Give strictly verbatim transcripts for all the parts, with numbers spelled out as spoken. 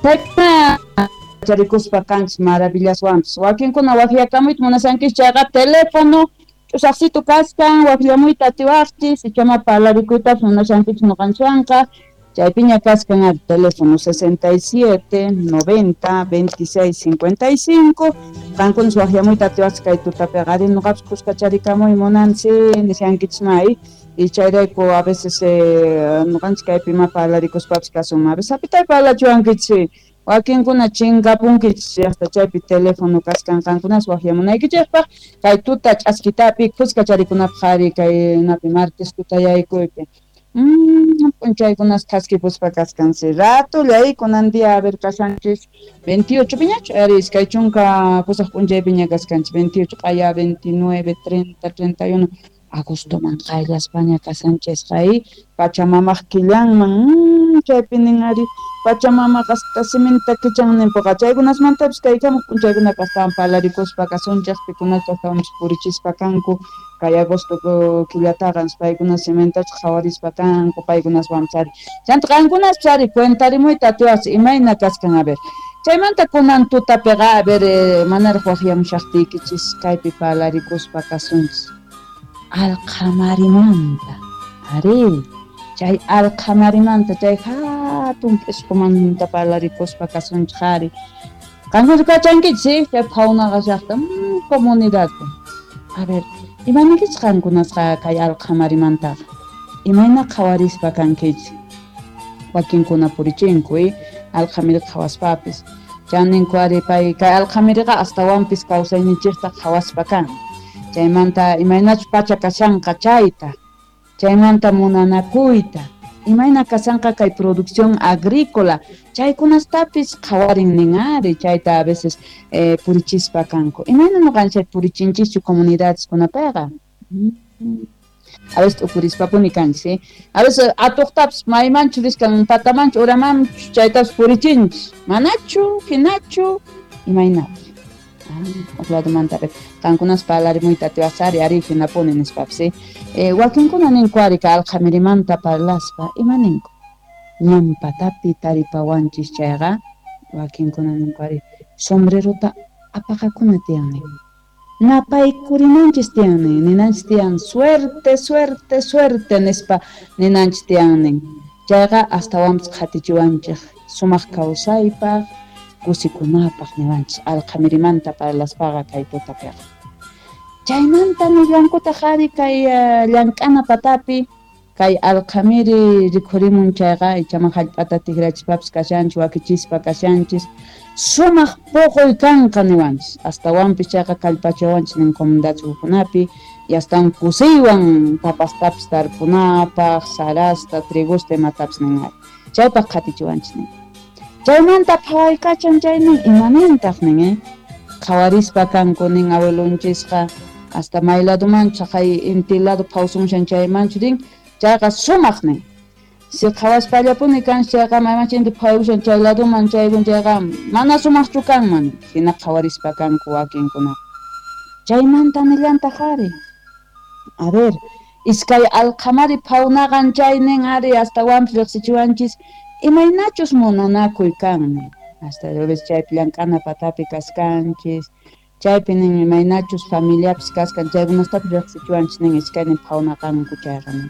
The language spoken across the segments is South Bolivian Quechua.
Chaykuna charikuspa kanchis maravillaswanpis. Wakinkuna waqyakamuyta munashankichis chayqa teléfono ch'usaqsitu kaskan waqllamuyta atiwaqchis, ichama parlarikuytapis munashankichis ñuqanchikwanqa. Chaypiña kaskan ari teléfono sesenta y siete, noventa, veintiséis, cincuenta y cinco. Qankunas waqllamuyta atiwaqchis kay tutapiqa ari ñuqapis kuskacharikamuy munansi nishankichis may. Y chayrayku a veces eh, ñuqanchis kaypi ima parlarikuspapis kasunman. A veces apitay parlachiwankichis. Wakinkuna chinkapunkichis hasta chaypi teléfono kaskan qankunas waqllamunaykichikpaq kay tuta ch'askitapi kuskacharikunapaq ari kay napi martes tutayaykuypi. Mm, p'unchaykunas thaskipuspa kaskansi ratulla kunan día a ver kashanchis veintiocho piñachu ari iskay chunka pusaq p'unchaypiña kaskanchis veintiocho q'aya veintinueve, treinta, treinta y uno agostoman qayllaspaña kashanchisqa ay Pachamamaq killanman mm, chaypi nin ari Pachamamaqa hasta siminta kichan ninpuqa chaykunasmantapis kaykamuq p'unchaykunapi astawan parlarikuspa kasunchik pikunachus astawanpis purichispa kanku kay agosto killataqa paykuna simintachu qhawarispa kanku paykunaswanpis ari chanta qankunaspis ari cuentarimuyta atiwaqchis imayna kaskan a ver chaymanta kunan tutapiqa a ver eh, manaraq waqyamushaqtiykichis kaypi parlarikuspa kasunchis alqhamarimanta ari chay alqhamarimanta chay hatun p'isqumanta parlarikuspa kasunchik ari qankuna kachankichis chay phawnaqa llaqta mm, comunidadpi a ver imaniykichis qankunasqa kay alqhamarimantaqa imayna qhawarispa kankichis wakinkuna purichinku eh alqhamiri qhawaspapis chaninku ari pay kay alqhamiriqa astawanpis kawsayninchikta qhawaspa kan chaymanta imaynachus pacha kashanqa chayta chaymanta munanakuyta imayna kashanqa kay producción agrícola chaykunastapis qhawarin nin ari chayta a veces eh, purichispa kanku imayna ñuqanchik purichinchischu comunidadeskunapiqa a veces t'ukurispapuni kanchis eh? A veces atuqtapis maymanchu riskan patamanchu uramanchu chaytapis purichinchis manachu hinachu imaynapi ah, ladumanta qankunas parlarimuyta atiwaqchis ari ari hinapuni nispapis eh? Eh, wakinkuna ninku ari kay alqhamirimanta parlaspa ima ninku ñan patapi taripawanchis chayqa wakinkuna ninku ari sombrerota apaqakuna tiyan nin napaykurinanchis tiyan nin ninanchis tiyan suerte suerte suerte nispa ninanchis tiyan nin chayqa astawanpis qhatichiwanchik sumaq kawsaypaq kusikunapaq niwanchis alqhamirimanta parlaspaqa kay tutapiqa chaymanta nillankutaq ari kay uh, llank'ana patapi kay alqhamiri rikhurimun chayqa ichaman hallp'ata tikrachispapis kashanchis wakichispa kashanchis sumaq puquy kanqa niwanchis astawanpis chayqa kallpachawanchis nin comunidadkunapi y astawan kusiywan papastapis tarpunapaq sarasta trigusta imatapis nin ari chaypaq qhatichiwanchis nin chaymanta phawaykachan chay nin imanintaq nin eh qhawarispa kanku nin abuelonchisqa hasta may ladumanchu chaqay inti lado phawsumushan chaymanchu rin chayqa sumaq nin si qhawaspallapuni kanchis chayqa maymanchu inti phawaykushan chay laduman chaykun chayqa mana sumaqchu kanman hina qhawarispa kanku wakinkunaqa chaymanta nillantaq ari a ver iskay alqhamari phawnaqan chay nin ari astawanpis riqsichiwanchis imaynachus munanakuy kan nin hasta veces chaypi llank'ana patapi kaskanchis chaypi nin imaynachus familiapis kaskan chaykunastapis riqsichiwanchis nin iskaynin phawnaqanku chayqa nin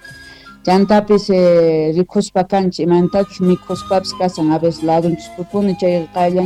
chantapis eh, rikhuspa kanchis imaynatachus mikhuspapis kasan a veces ladunchispipuni chay qayllan